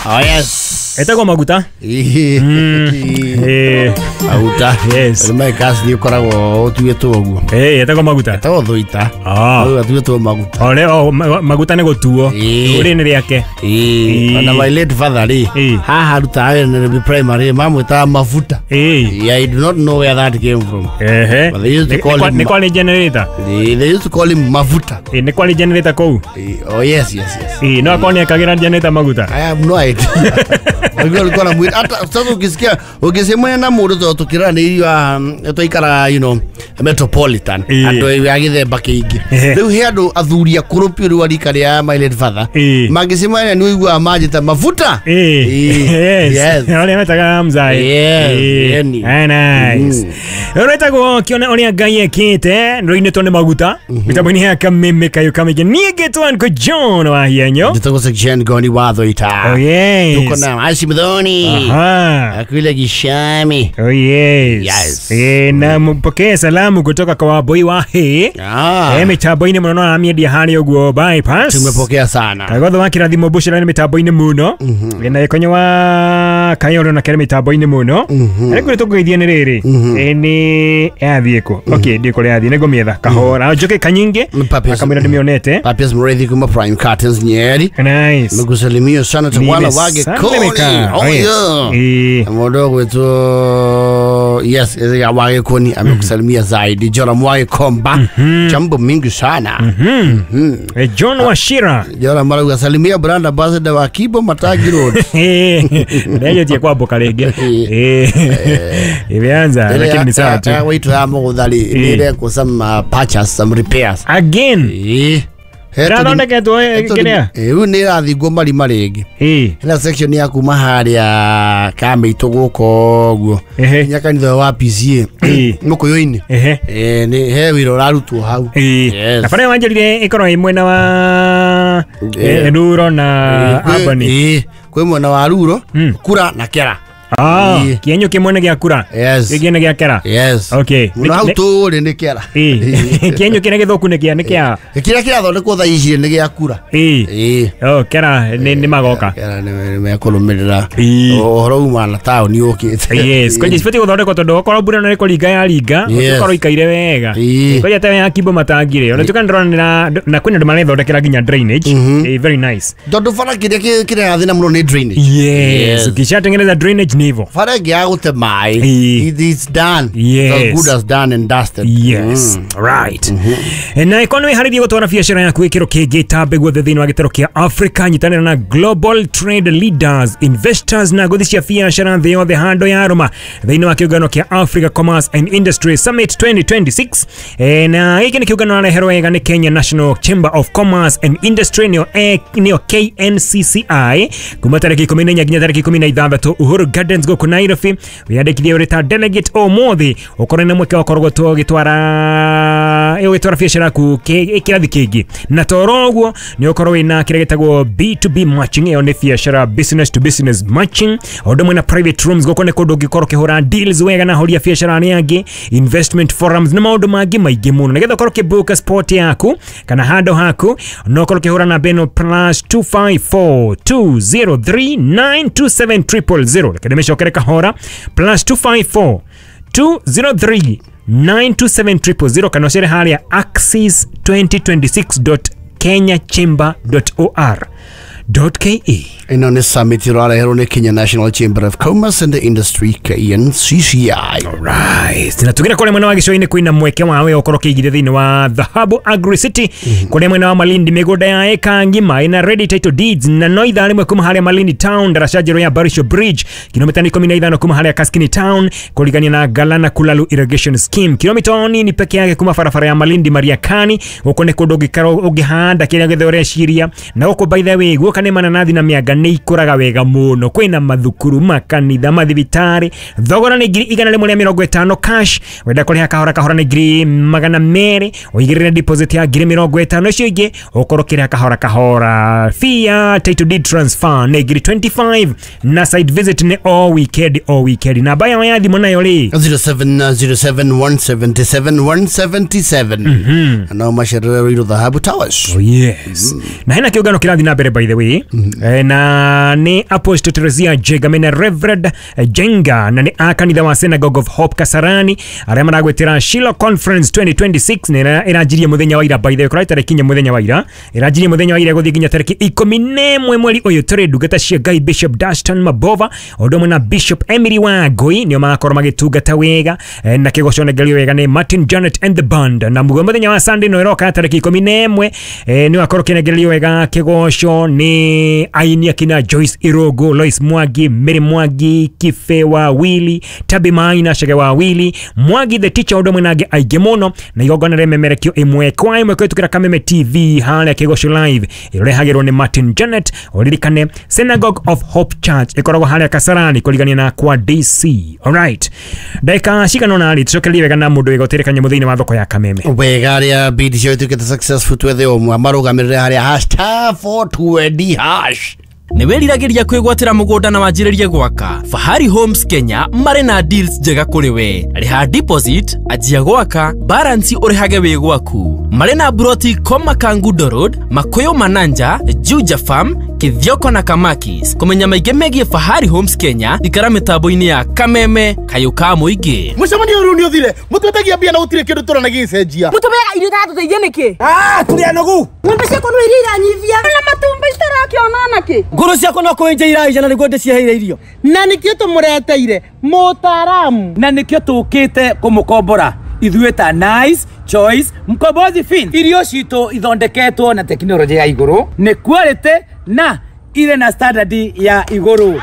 Oh yes. Etagwo maguta. Maguta. Yes. Nĩ kasi nĩ ũkoragwo ũtuĩtwo ũguo. Etagwo maguta. Etagwo thũita. Ũtuĩtwo maguta. Ole maguta nĩ gũtuo. Rĩrĩ nĩ rĩake. Ona my late father rĩ. Haha arutaga wĩra Nairobi Primary mamwĩtaga mafuta. I do not know where that came from. But they used to call him. Nĩ kwarĩ generator. They used to call him mafuta. Nĩ kwarĩ generator kũu. Oh yes yes yes. No akorwo nĩ ekagĩra generator maguta. I have no idea. Alikuwa na mwili hata sasa ukisikia ukisemwa na mũndũ to tukira nĩ irio twaikara you know metropolitan andũ a gĩthemba kĩingĩ rĩu he andũ athuri akũrũ piũ rĩu arika rĩa my late father mangĩcemania nĩ ũiguaga manjĩta mafuta. Yes. Arĩa metaga mzai. Yes. Nice. Rwetagwo kĩone ũrĩa Ngai ekĩte rũinĩtwo nĩ maguta mĩtambo-inĩ ya kameme kayo kamĩingĩ. Niĩ ngĩtwo Uncle John wa Hienyo. Njĩtagwo Section Goni wa Thũita. Oh yes. Tuko na Hashim Dhoni. Akule Gishami. Oh yes. Yes. Na mpokee salamu kutoka kwa waboi wa he. Mitambo-inĩ mũno no aramĩendia harĩa ũguo bypass. Tumepokea sana. Kagotho wa kĩrathimo bushra nĩ mitambo-inĩ mũno. Na gĩkonyo wa Kayoro na kere mitambo-inĩ mũno. Arĩa kũrĩ tũkũgeithia nĩ rĩrĩ. Nĩ yathiĩ kũ? Okay, ndiĩ kũrĩa yathiĩ nĩngũmĩetha kahora. Njoke kanyinge. Akamwĩra ndĩmĩonete. Papias Murithi kuma Prime Curtains Nyeri. Nice. Nikusalimia sana twana wage koni. Oh yeah. Mũndũ ũgwĩtwo yes wage koni amekusalimia zaidi. Jora Mwage Komba. Jambo mingi sana. John Washira. Jora marauga salimia brand ambassador wa Kibo Matagi Road. Ndejetie kwamboka rĩngĩ. Imeanza lakini ni sawa tu. Waitu ya mũgũthari nĩrekwo some patches, some repairs. Again. Ĩrathondeketwo kĩrĩa? Rĩu nĩ ĩrathingwo marima rĩngĩ. Hena section ya kuma harĩa Kamĩitũ gũkũ ũguo nginya kanitha wa PCA Mũkũyũ-inĩ. Nĩ he wĩra ũrarutwo hau. Na bara wanjĩrire ĩkorwo ĩ mwena wa Ruro na Albany. Kwĩ mwena wa Ruro, Kura na Kera. Kĩenyo kĩmwe nĩ gĩa Kura. Kĩngĩ nĩ gĩa Kera. Yes. Okay. Mũno hau tũrĩ nĩ Kera. Kĩenyo kĩrĩa gĩthũku nĩ kĩa nĩ kĩa kĩrĩa kĩrathondekwo thaa ici nĩ gĩa Kura. Oh, Kera nĩ magoka. Kera nĩ mekũrũmĩrĩra ũhoro uma na taũni ũkĩte. Yes, kwanja cibatiĩ gũthondekwo tondũ okorwo mbura no ĩkũringa yaringa, ũkorwo ikaire wega. Kwanja ta ya Kibo Matangi rĩ, ona tuka ndĩrona na kwĩna andũ marethondekera nginya drainage. Very nice. Tondũ bara kĩrĩa kĩrathĩna mũno nĩ drainage. Yes, ukishatengeneza drainage ni hivyo. Bara ĩngĩ ya gũte maĩ. It's done. Yes. It's as good as done and dusted. Yes. Right. Na ikono iharĩrie gũtwara biacara yaku gĩkĩro kĩngĩ tambe guothe thĩinĩ wa gĩtaro kĩa Africa. Nyitanĩra na Global Trade Leaders, Investors na ngũthi cia biacara thĩ yothe handũ ya Roma thĩinĩ wa kĩũngano kĩa Africa Commerce and Industry Summit 2026. Na gĩkĩ nĩ kĩũngano areherwo wega nĩ Kenya National Chamber of Commerce and Industry nĩyo KNCCI kuma tarĩki 14 nginya tarĩki 16 Uhuru Gardens gũkũ Nairobi. Wiyandĩkithie ũrĩ ta delegate ũmũthĩ ũkorwo na mweke wa gũkorwo ũgĩtwara biacara yaku kĩrathi kĩngĩ. Na toro ũguo nĩ ũkorwo wĩna kĩrĩa gĩtagwo B2B matching, ĩyo nĩ biacara business to business matching, o ũndũ ũmwe na private rooms gũkũ nĩ kũndũ ũngĩkorwo ũkĩhũra deals wega na ahũri a biacara arĩa angĩ, investment forums na maũndũ mangĩ maingĩ mũno. Nĩgetha ũkorwo ũkĩbook spot yaku kana handũ haku no ũkorwo ũkĩhũra namba ĩno +254 203 927 000. Reke ndĩmĩcokere kahora +254 203 927 000 kana ũcere harĩa axis 2026.kenyachamber.or.ke. Ĩno nĩ summit ĩrareherwo nĩ Kenya National Chamber of Commerce and Industry KNCCI. Alright. Na tugire kũrĩa mwena wa gĩcũa-inĩ kwĩna mweke wa we ũkorwo ũkĩigithia thĩinĩ wa Dhahabu Agri City kũrĩa mwena wa Malindi mĩgũnda ya eka ngima ĩna ready title deeds na no ithaa rĩmwe kuma harĩa Malindi Town daraca njerũ ya Barisho Bridge kilomita 15 kuma harĩa Kaskini Town kũrigania na Galana Kulalu Irrigation Scheme kilomita nini peke yake kuma barabara ya Malindi Mariakani. Gũkũ nĩ kũndũ ũngĩkorwo ũngĩhanda kĩrĩa gĩothe ũreciria. Na gũkũ by the way guoka nĩ mananathi na mĩanga nĩ ikũraga wega mũno. Kwĩna mathukuru, makanitha, mathibitarĩ. Thogora nĩ 150 cash. Wenda kũrĩha kahora kahora nĩ 200. Ũigĩrĩre deposit ya 50,000 icio ingĩ ũkorwo ũkĩrĩha kahora kahora. Fee ya title deed transfer nĩ 25 na site visit nĩ o weekend o weekend. Namba yao ya thimũ nayo rĩ 0707 177 177. No macerere Ruiru Dhahabu Towers. Oh yes. Na hena kĩũngano kĩrathiĩ na mbere by the way. Na Na nĩ Apostle Teresia Jenga mena Reverend Jenga na nĩ a kanitha wa Synagogue of Hope Kasarani arĩa maragwĩtĩra Shiloh Conference 2026 nĩ ĩranjirie mũthenya wa ira, by the way kũrarĩ tarĩki inya mũthenya wa ira, ĩranjirie mũthenya wa ira gũthiĩ nginya tarĩki 11 mweri ũyũ tũrĩ. Ndungata cia Ngai Bishop Dastan Mabova ũndũ ũmwe na Bishop Emily Wangui nĩo magakorwo magĩtungata wega, na kĩgoco nengerio wega nĩ Martin Janet and the band. Na mũthenya wa Sunday no ĩroka tarĩki 11 nĩ wakorwo kĩnengererio wega kĩgoco nĩ aini akina Joyce Irogo, Lois Mwangi, Mary Mwangi, Kife wa Willy, Tabi Maina, Shege wa Willy, Mwangi the teacher ũndũ ũmwe na angĩ aingĩ mũno. Na igongona rĩmemerekio ĩmwe kwa ĩmwe kũhĩtũkĩra Kameme TV harĩa kĩgoco live ĩrehagĩrwo nĩ Martin Janet. Ũririkane Synagogue of Hope Church ĩkoragwo harĩa Kasarani kũrigania na kwa DC. Alright, ndagĩka cigana ũna rĩ tũcokererie wega na mũndũ wĩgotĩre kanyamũ thĩinĩ wa thoko ya Kameme. Wega arĩa bidi cio ituĩkĩte successful twethe ũmwe marũgamĩrĩre harĩa #420 hash. Nĩ wĩriragĩria kwĩgwatĩra mũgũnda na wanjĩrĩrie gwaka? Fahari Homes Kenya marĩ na deals njega kũrĩ we. Rĩha deposit, anjia gwaka, balance ũrĩhage wĩ gwaku. Marĩ na broti Koma Kangundo Road, Makuyu Mananja, Juja Farm, Kithioko na Kamakis. Kũmenya maingĩ megiĩ Fahari Homes Kenya, ikara mĩtambo-inĩ ya Kameme kayũ ka mũingĩ. Mũcemanio ũyũ nĩ ũthire, mũtwetagia mbia na gũtirĩ kĩndũ tũrona gĩgĩcenjia. Mũtũmeaga irio itatũteithia nĩkĩ? Tũrĩ anogu. Ng'ombe ciakwa no iria iranyivia na matumbĩ citarakĩona nakĩ. Ngũrũ ciakwa no kũenja iraija na nĩguo ndĩciheire irio. Na nĩkĩo tũmũreteire mũtaaramu. Na nĩkĩo tũkĩte kũmũkombora ithuĩ ta Nice Choice Mkombozi Fin. Irio citũ ithondeketwo na tekinoronjĩ ya igũrũ, nĩ quality na irĩ na standard ya igũrũ.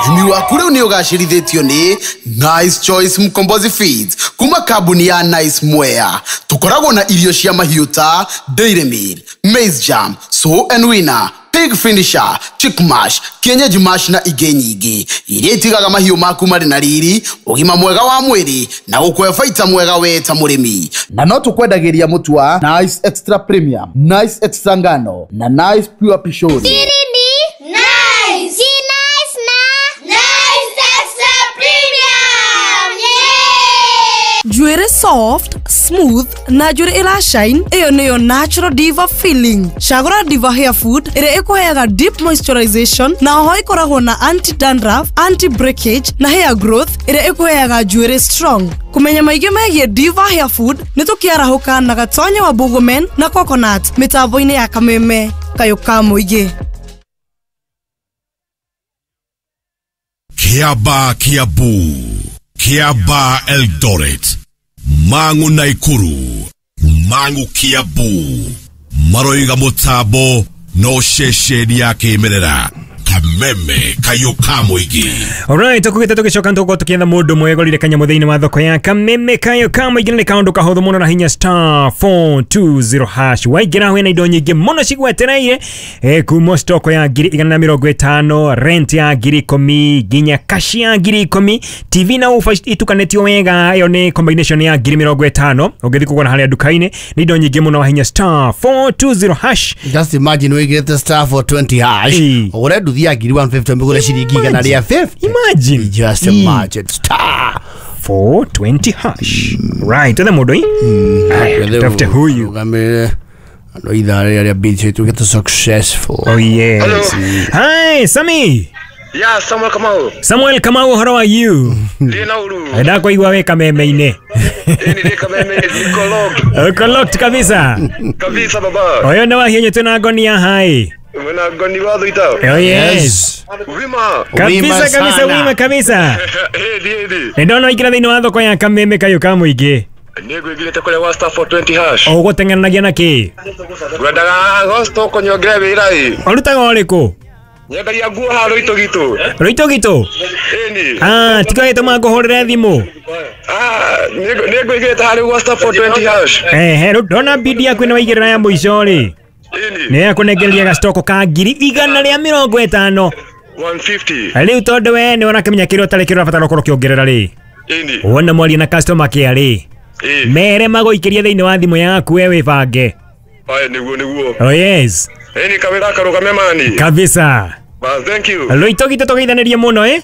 Ũrĩmi waku rĩu nĩ ũgacĩrithĩtio nĩ Nice Choice Mkombozi Feeds kuma kambuni ya Nice Mwea. Tũkoragwo na irio cia mahiũ ta Dairy Meal, Maize Jam, Sow and Winner, Pig Finisher, Chick Mash, Kienyeji Mash na ingĩ nyingĩ iria itigaga mahiũ maku marĩ na riri, ũgima mwega wa mwĩrĩ na gũkũhe baita mwega we ta mũrĩmi. Na no tũkwendagĩria mũtu wa Nice Extra Premium, Nice Extra Ngano na Nice Pure Pishori. Nice. Nice na Nice Extra Premium. Yeah! Njuĩrĩ soft, smooth na njuĩrĩ ĩra shine, ĩyo nĩyo natural diva feeling. Cagũra Diva Hair Food ĩrĩa ĩkũheaga deep moisturization na oho ĩkoragwo na anti dandruff, anti breakage na hair growth ĩrĩa ĩkũheaga njuĩrĩ strong. Kũmenya maingĩ megiĩ Diva Hair Food nĩ tũkĩarahũka na Gatonye wa Bũgũmen na Coconut mĩtambo-inĩ ya Kameme kayũ ka mũingĩ. Kiaba Kiambu, Kiaba Eldoret, Mangu Naikuru, Mangu Kiambu, maroiga mutambo no ceceni ya kĩmerera Kameme kayũ ka mũingĩ. Alright, tukugĩte tũgĩcoka nĩtũgũkorwo tũkĩetha mũndũ mwegorire kanyamũ thĩinĩ wa thoko ya Kameme kayũ ka mũingĩ. Nĩ kaũndũ kahũthũ mũno na hinya *420 hash. Waingĩra wĩna indo nyingĩ mũno cigwetereire, kuma stoko ya 150,000, rent ya 10,000 nginya cash ya 10,000, TV na ufa itukanĩtio wega, ĩyo nĩ combination ya 50,000 ũngĩthiĩ kũgũra harĩa nduka-inĩ. Nĩ indo nyingĩ mũno wa hinya *420 hash. Just imagine wĩigĩrĩte *420 hash ũgũre nduthi ya 150 mbigure ciringi igana rĩa 50. Imagine. Just imagine. *420 hash. Right, twethe mũndũ ĩ. Tafute huyu. Andũ ithaa rĩrĩa bidi ituĩkĩte successful. Oh yes. Hi, Sammy. Yeah, Samuel Kamau. Samuel Kamau, how are you? Ndĩ na uru. Ndakũigua wĩ Kameme-inĩ. Ĩni ndĩ Kameme, niko locked. Uko locked kabisa. Kabisa baba. Oyo nĩ wahinyũ twĩna ngoni ya hai. Mwena ngoni wa thuita. Oh yes. Wima. Kabisa kabisa, wima kabisa. Ĩndi ĩndi. Ndona waingĩra thĩinĩ wa thoko ya Kameme kayũ ka mũingĩ. Nĩngũingĩrĩte kũrĩa wa *420 hash. Ũgũteng'eranagia na kĩ? Ngwendaga gostoko nyongere wĩra ĩ. Ũrutaga ũrĩkũ? Nyendagia nguo haha Rũitũ-gitũ. Rũitũ-gitũ? Ĩni. Tiga gĩtũma ngũhũrĩre thimũ. Nĩngũigĩrĩte harĩa gwa *420 hash. Ehe, rĩu ndona bidi yaku nĩ waigĩrĩra ya mũico rĩ. Ĩni. Nĩ yakũnengereria gacitoko ka 150,000. 150. Rĩu tondũ we nĩ ũrakĩmenya kĩrĩa ũtarĩ kĩrĩa ũrabatara ũkorwo ũkĩongerera rĩ. Ĩni. Wona mwaria na customer care rĩ. Mere magũikĩrie thĩinĩ wa thimũ yaku we wĩbange. Aye, nĩguo nĩguo. Oh yes. Ĩni kawĩra karũgame mani. Kabisa. Ba, thank you. Rũitũ-gitũ tũgeithanĩrie mũno ĩ.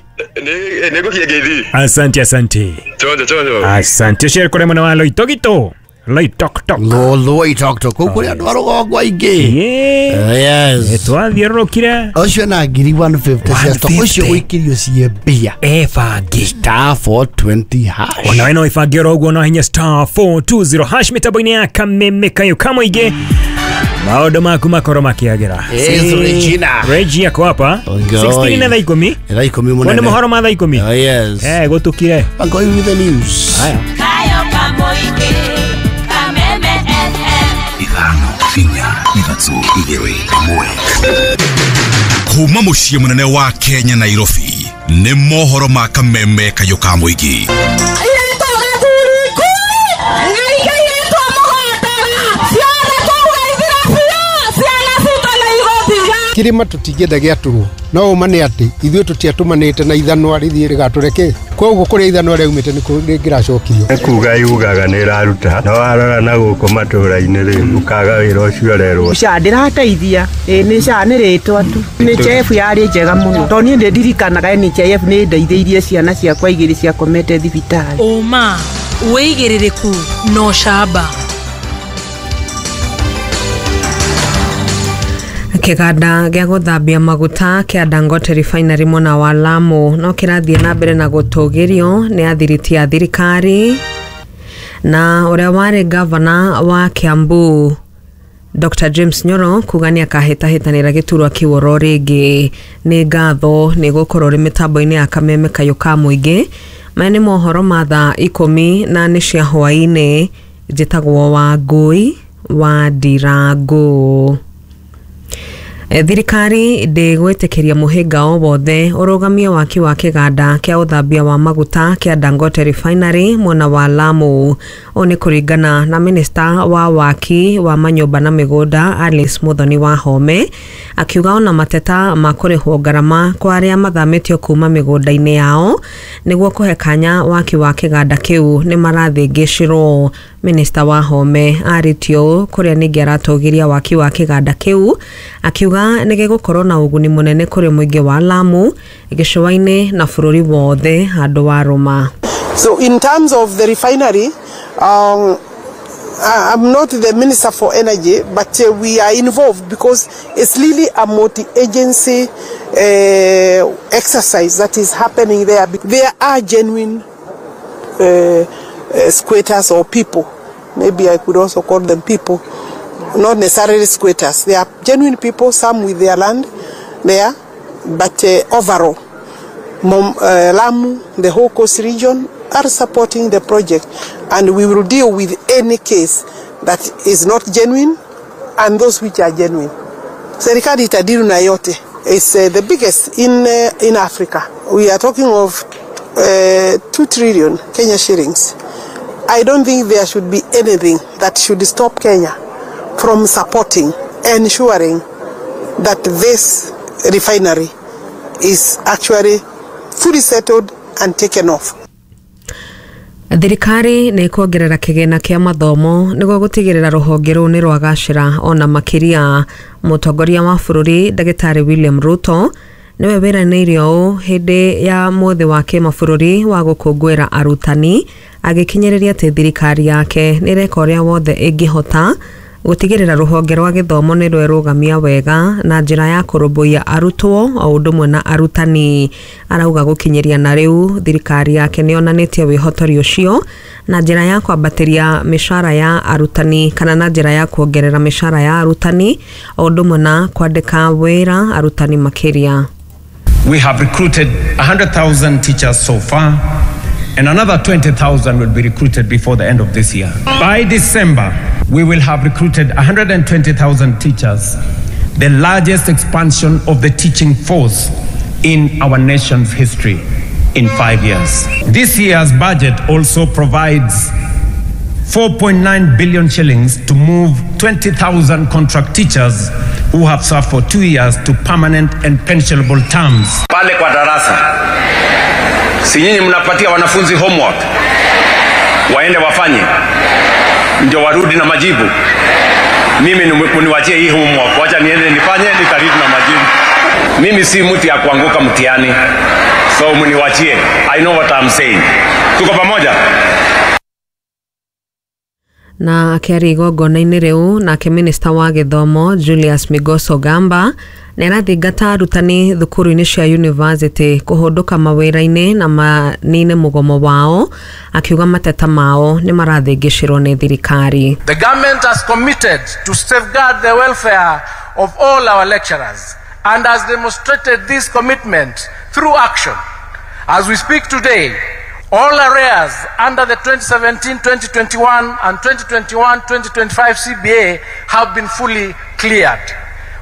Nĩngũkiĩ ngeithi. Asante asante. Chonjo chonjo. Asante ũcio kũrĩ mwena wa Rũitũ-gitũ. Loitoktok. Loitoktok kũu kũrĩ andũ a rũgongo aingĩ. Yes. Twathiũrũrũkire. Ũcio na ngiri 150 cia stock ũcio ũikĩrio cie mbia. Ebangi. Star 420 hash. Ona we no ibange oro ũguo no hinya star 420 hash mĩtambo-inĩ ya Kameme Kayo Kamoingĩ. Maũndũ maku makorwo makĩagĩra. Yes, Regina. Regia ako hapa. 16 na thaa ikũmi. Thaa ikũmi mũnene. Nĩ mohoro ma thaa ikũmi. Oh, yes. Gũtukire. I'm going with the news. Haya. Kayo Kamoingĩ, Kameme FM. 5 4 3 2 1. Kuma mũciĩ mũnene wa Kenya Nairobi nĩ mohoro ma Kameme Kayo Kamoingĩ. Kirima tutingĩenda gĩatũrwo no ũma nĩ atĩ ithuĩ tũtiatũmanĩte na ithanwa rĩthiĩ rĩgatũre koguo kũrĩa ithanwa rĩaumĩte nĩ rĩngĩracokirio. Nĩ kuga yugaga nĩ ĩraruta no warora na gũkũ matũra-inĩ rĩ ũkaga wĩra ũcio ũrerwo. SHA ndĩrateithia nĩ SHA nĩ rĩtwa tu NHIF yarĩ njega mũno tondũ niĩ nĩndirikanaga NHIF nĩ ndeithĩirie ciana ciakwa igĩrĩ ciakomete thibitarĩ. Ũma wĩigĩrĩrĩku na ũcamba. Kĩganda gĩa gũthambia maguta kĩa Dangote Refinery mwena wa Lamu no kĩrathiĩ na mbere na gũtũgĩrio nĩ athiriti a thirikari na ũrĩa warĩ gavana wa Kiambu Dr. James Nyoro kuga nĩ akahĩtahĩtanĩra gĩturwa kĩu oro rĩngĩ. Nĩ ngatho nĩ gũkorwo rĩ mĩtambo-inĩ ya Kameme Kayo ka Mũingĩ. Maya nĩ mohoro ma thaa ikũmi na nĩ cia hwaĩ-inĩ. Njĩtagwo Wangũi wa Ndirango. Thirikari ndĩgwĩtĩkĩria mũhĩnga o wothe ũrũgamie waki wa kĩganda kĩa ũthambia wa maguta kĩa Dangote Refinery mwena wa Lamu. Ũũ nĩ kũringana na minista wa waki wa manyũmba na mĩgũnda Alice Muthoni wa Home akiuga ona mateta ma kũrĩhwo ngarama kwa arĩa mathamĩtio kuma mĩgũnda-inĩ yao nĩguo kũhe kanya waki wa kĩganda kĩu nĩ marathĩngĩcirwo. Minista wa Home arĩtio ũũ kũrĩa ningĩ aratũgĩria waki wa kĩganda kĩu akiuga nĩ gĩgũkorwo na ũguni mũnene kũrĩ mũingĩ wa Lamu gĩcũa-inĩ na bũrũri wothe handũ wa Rũma. So in terms of the refinery, I'm not the minister for energy, but we are involved because it's really a multi-agency exercise that is happening there. There are genuine squatters or people. Maybe I could also call them people, not necessarily squatters. They are genuine people, some with their land there, but overall, Lamu, the whole coast region are supporting the project, and we will deal with any case that is not genuine and those which are genuine. Serikali itadiru na yote. It's the biggest in Africa. We are talking of 2 trillion Kenya shillings. I don't think there should be anything that should stop Kenya from supporting, ensuring that this refinery is actually fully settled and taken off. Thirikari nĩ ĩkuongerera kĩgĩna kĩa mathomo nĩguo gũtigĩrĩra rũhonge rũu nĩ rwagacĩra ona makĩria. Mũtongoria wa bũrũri Ndagĩtarĩ William Ruto nĩwe wĩranĩire ũũ hĩndĩ ya mũthĩ wa kĩmabũrũri wa gũkũngũĩra arutani agĩkinyĩrĩria atĩ thirikari yake nĩ ĩreka ũrĩa wothe ĩngĩhota gũtigĩrĩra rũhonge rwa gĩthomo nĩ rwerũgamia wega na njĩra ya kũrũmbũiya arutwo o ũndũ ũmwe na arutani. Arauga gũkinyĩria na rĩu thirikari yake nĩ yonanĩtie wĩhotori ũcio na njĩra ya kwambatĩria mĩcara ya arutani kana na njĩra ya kuongerera mĩcara ya arutani o ũndũ ũmwe na kwandĩka wĩra arutani makĩria. We have recruited 100,000 teachers so far, and another 20,000 will be recruited before the end of this year. By December, we will have recruited 120,000 teachers, the largest expansion of the teaching force in our nation's history in 5 years. This year's budget also provides 4.9 billion shillings to move 20,000 contract teachers who have served for 2 years to permanent and pensionable terms. Pale kwa darasa, si nyinyi mnapatia wanafunzi homework waende wafanye ndio warudi na majibu? Mimi niwachie hii homework, wacha niende nifanye, nitarudi na majibu. Mimi si mtu ya kuanguka mtihani, so mniwachie. I know what I'm saying. Tuko pamoja? Na akĩaria igongona-inĩ rĩu nake minista wa gĩthomo Julius Migos Ogamba nĩarathingata arutani thukuru-inĩ cia university kũhũndũka mawĩra-inĩ na manine mũgomo wao, akiuga mateta mao nĩ marathĩngĩcĩrwo nĩ thirikari. The government has committed to safeguard the welfare of all our lecturers and has demonstrated this commitment through action. As we speak today, all arrears under the 2017-2021 and 2021-2025 CBA have been fully cleared.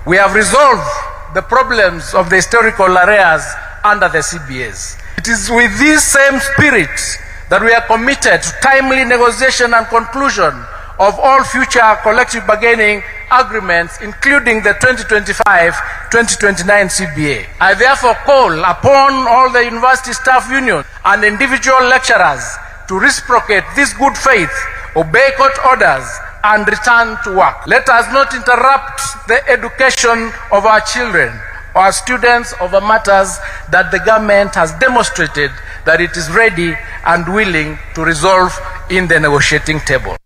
We have resolved the problems of the historical arrears under the CBAs. It is with this same spirit that we are committed to timely negotiation and conclusion of all future collective bargaining agreements, including the 2025-2029 CBA. I therefore call upon all the university staff unions and individual lecturers to reciprocate this good faith, obey court orders, and return to work. Let us not interrupt the education of our children or students over matters that the government has demonstrated that it is ready and willing to resolve in the negotiating table.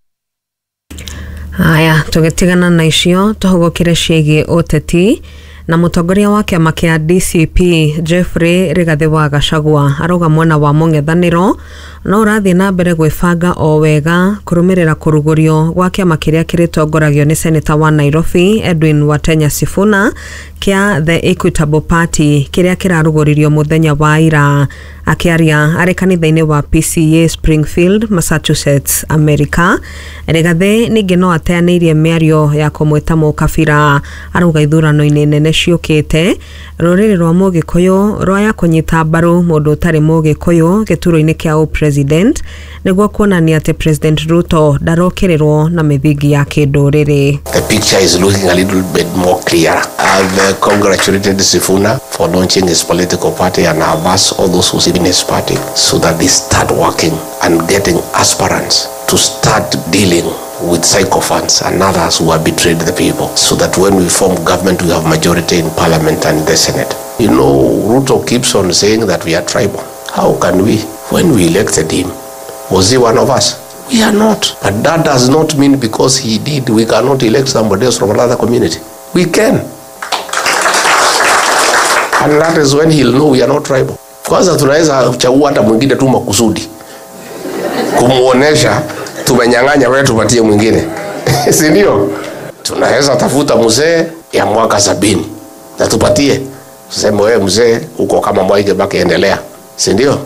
Haya, tũgĩtigana na icio tũhũgũkĩre ciĩgiĩ ũteti na mũtongoria wa kĩama kĩa DCP Jeffrey Rigathi wa Gachagua arauga mwena wa mũng'ethanĩro no ũrathiĩ na mbere gwĩbanga o wega kũrũmĩrĩra kũrugũrio gwa kĩama kĩrĩa kĩrĩtongoragio nĩ seneta wa Nairobi Edwin Watenya Sifuna kĩa The Equitable Party kĩrĩa kĩrarugũririo mũthenya wa ira. Akĩaria arĩ kanitha-inĩ wa PCA Springfield, Massachusetts, America, Rigathi ningĩ no ateanĩirie mĩario ya kũmwĩta mũkabira. Arauga ithurano-inĩ nene ciũkĩte rũrĩrĩ rwa mũgĩkũyũ rwaya kũnyita mbaru mũndũ ũtarĩ mũgĩkũyũ gĩturwa-inĩ kĩa president nĩguo kuonania atĩ President Ruto ndarokĩrĩrwo na mĩthingi ya kĩndũrĩrĩ. The picture is looking a little bit more clear. I've congratulated Sifuna for launching his political party, and I've asked all those who sit in his party so that they start working and getting aspirants to start dealing with sycophants and others who have betrayed the people, so that when we form government, we have majority in parliament and the Senate. You know, Ruto keeps on saying that we are tribal. How can we? When we elected him, was he one of us? We are not. But that does not mean because he did, we cannot elect somebody else from another community. We can. And that is when he'll know we are not tribal. Kwanza tunaweza kuchagua hata mwingine tu makusudi kumuonesha tumenyang'anya, wewe tupatie mwingine. Si ndio? Tunaweza tafuta mzee ya mwaka 70 na tupatie, tuseme wewe mzee uko kama Mwai Kibaki, endelea. Si ndio?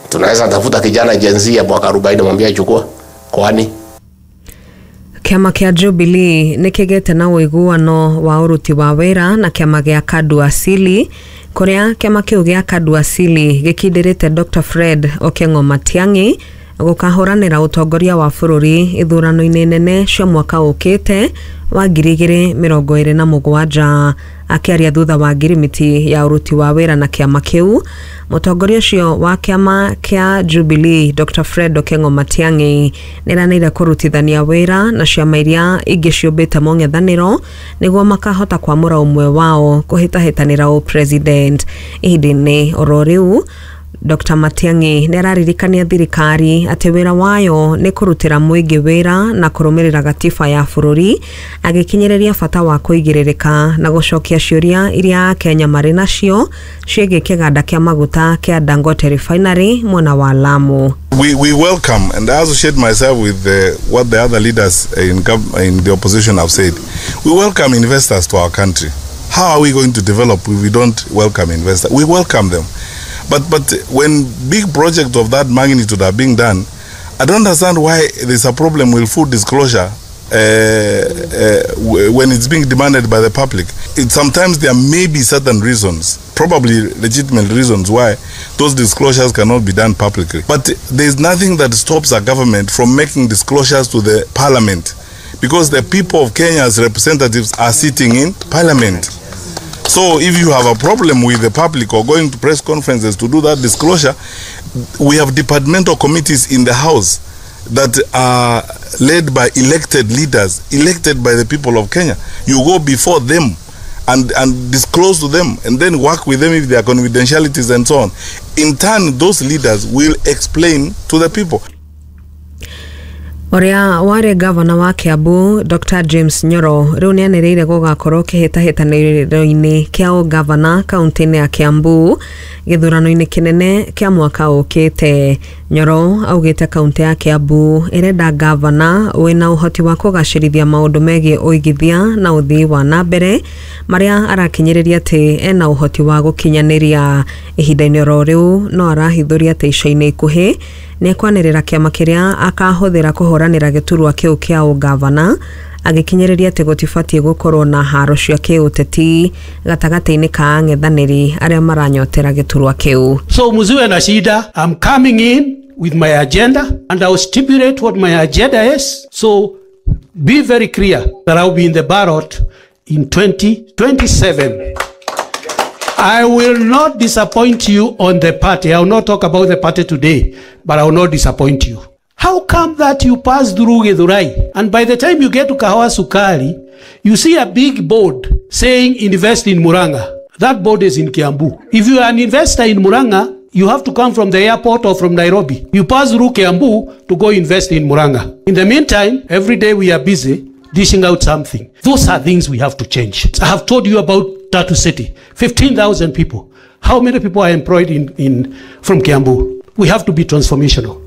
Tunaweza tafuta kijana Gen Z ya mwaka 40, mwambie chukua. Kwani Kĩama kĩa Jubilee nĩ kĩgĩte na ũiguano wa ũruti wa wĩra na kĩama gĩa Kadu Asili, kũrĩa kĩama kĩu gĩa Kadu Asili gĩkindĩrĩte Dr. Fred Okengo Matiang'i gũkahũranĩra ũtongoria wa bũrũri ithurano-inĩ nene cia mwaka ũkĩte wa 2027. Akĩaria thutha wa ngirimiti ya ũruti wa wĩra na kĩama kĩu, mũtongoria ũcio wa kĩama kĩa Jubilee Dr. Fred Okengo Matiang'i nĩeranĩire kũrutithania wĩra na ciama iria ingĩ ciũmbĩte mũng'ethanĩro nĩguo makahota kwamũra ũmwe wao kũhĩtahĩtanĩra ũpresident. Ihinda-inĩ oro rĩu, Dr. Matiang'i nĩararirikania thirikari atĩ wĩra wayo nĩ kũrutĩra mũingĩ wĩra na kũrũmĩrĩra gatiba ya bũrũri, agĩkinyĩrĩria bata wa kũigĩrĩrĩka na gũcokia ciũria iria Akenya marĩ nacio ciĩgiĩ kĩganda kĩa maguta kĩa Dangote Refinery mwena wa Lamu. We welcome, and I associate myself with what the other leaders in the opposition have said. We welcome investors to our country. How are we going to develop if we don't welcome investors? We welcome them. But when big projects of that magnitude are being done, I don't understand why there's a problem with full disclosure when it's being demanded by the public. Sometimes there may be certain reasons, probably legitimate reasons, why those disclosures cannot be done publicly. But there's nothing that stops a government from making disclosures to the parliament, because the people of Kenya's representatives are sitting in parliament. So if you have a problem with the public or going to press conferences to do that disclosure, we have departmental committees in the house that are led by elected leaders, elected by the people of Kenya. You go before them and disclose to them, and then work with them if there are confidentialities and so on. In turn, those leaders will explain to the people. Ũrĩa warĩ gavana wa Kiambu Dr James Nyoro rĩu nĩanĩrĩire gũgakorwo kĩhĩtahĩtanĩro-inĩ kĩa ũgavana kaunti-inĩ ya Kiambu gĩthurano-inĩ kĩnene kĩa mwaka ũkĩte. Nyoro augĩte kaunti ya Kiambu ĩrenda gavana wĩna ũhoti wa kũgacĩrithia maũndũ megiĩ ũigithia na ũthii wa na mbere marĩa arakinyĩrĩria atĩ ena ũhoti wa gũkinyanĩria. Ihinda-inĩ oro rĩu no arahithũria atĩ ica-inĩ ikuhĩ nĩekwanĩrĩra kĩama kĩrĩa akahũthĩra kũhũranĩra gĩturwa kĩu kĩa ũgavana, agĩkinyĩrĩria atĩ gũtibatiĩ gũkorwo na haro cia kĩũteti gatagatĩ-inĩ ka ang'ethanĩri arĩa maranyotera gĩturwa kĩu. So musiwe na shida, I'm coming in with my agenda and I will stipulate what my agenda is. So be very clear that I will be in the ballot in 2027. I will not disappoint you on the party. I will not talk about the party today, but I will not disappoint you. How come that you pass through Githurai and by the time you get to Kahawa Sukari, you see a big board saying invest in Murang'a? That board is in Kiambu. If you are an investor in Murang'a, you have to come from the airport or from Nairobi. You pass through Kiambu to go invest in Murang'a. In the meantime, every day we are busy dishing out something. Those are things we have to change. I have told you about Tatu City, 15,000 people. How many people are employed from Kiambu? We have to be transformational.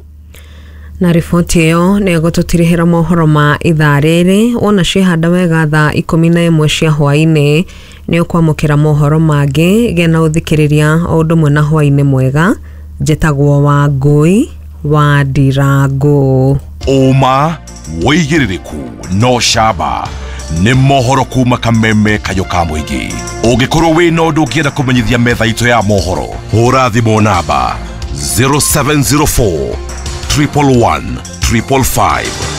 Na riboti ĩyo nĩ ĩgũtũtirihĩra mohoro ma ithaa rĩrĩ. Wona ciĩhanda wega thaa 11 cia hwaĩ-inĩ nĩ ũkwamũkĩra mohoro mangĩ. Gĩa na ũthikĩrĩria o ũndũ ũmwe na hwaĩ-inĩ mwega. Njĩtagwo Wangũi wa Ndirangũ. Ũma wĩigĩrĩrĩku no camba nĩ mohoro kuma kameme kayo ka mũingĩ. Ũngĩkorwo wĩna ũndũ ũngĩenda kũmenyithia metha itũ ya mohoro, hũra thimũ namba 0704 111 555.